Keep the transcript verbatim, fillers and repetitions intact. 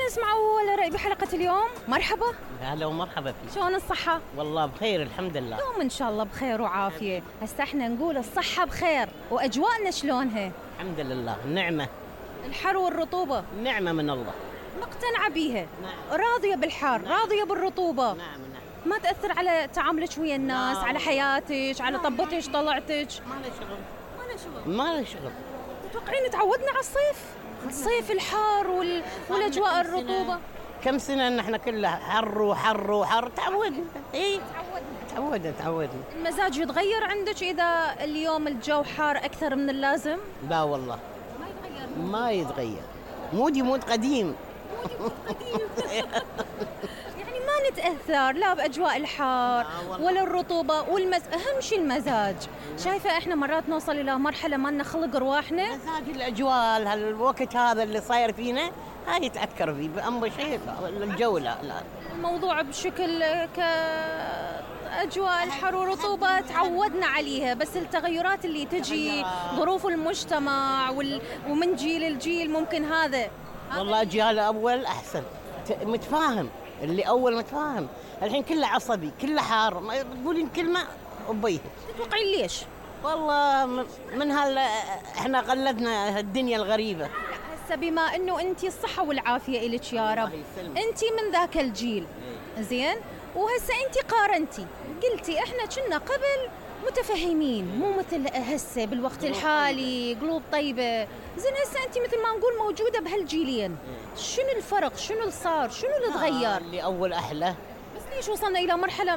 نسمع أول رأي بحلقة اليوم. مرحبا. هلا ومرحبا فيك. شلون الصحة؟ والله بخير الحمد لله. دوم إن شاء الله بخير وعافية. هسه احنا نقول الصحة بخير وأجواءنا شلونها؟ الحمد لله نعمة. الحر والرطوبة نعمة من الله. مقتنعة بيها؟ نعم. راضية بالحر؟ نعم. راضية بالرطوبة؟ نعم نعم. ما تأثر على تعاملك ويا الناس، لا. على حياتك، على طبتك طلعتك؟ ما له شغل. ما له شغل. ما له شغل. تتوقعين تعودنا على الصيف؟ الصيف الحار وال... والأجواء الرطوبة. كم سنة ان احنا كلها حر وحر وحر تعودنا. اي تعودنا. تعودنا تعودنا. المزاج يتغير عندك إذا اليوم الجو حار أكثر من اللازم؟ لا والله ما يتغير. ما يتغير. مودي مود قديم. يعني ما نتأثر لا بأجواء الحار لا والله. ولا الرطوبة والمز... أهم شيء المزاج. شايفة إحنا مرات نوصل إلى مرحلة ما لنا خلق رواحنا. مزاج الاجواء هالوقت هذا اللي صاير فينا هاي يتأثر فيه بأمر شيء الجو. لا لا الموضوع بشكل كأجواء الحر والرطوبة تعودنا عليها، بس التغيرات اللي تجي ظروف المجتمع وال... ومن جيل لجيل ممكن هذا. والله جيل أول أحسن ت- متفاهم. اللي أول متفاهم. الحين كله عصبي كله حار. ما تقولين كلمة وبيه. تتوقعين ليش؟ والله م- من هال إحنا قلدنا الدنيا الغريبة. هسه بما انه انت الصحة والعافية الك يا رب، الله يسلمك. انت من ذاك الجيل زين، وهسه انت قارنتي قلتي احنا كنا قبل متفهمين مو مثل هسه بالوقت الحالي قلوب طيبة. زين هسه انت مثل ما نقول موجودة بهالجيلين، شنو الفرق؟ شنو اللي صار؟ شنو اللي آه، تغير؟ اللي أول أحلى. بس ليش وصلنا الى مرحلة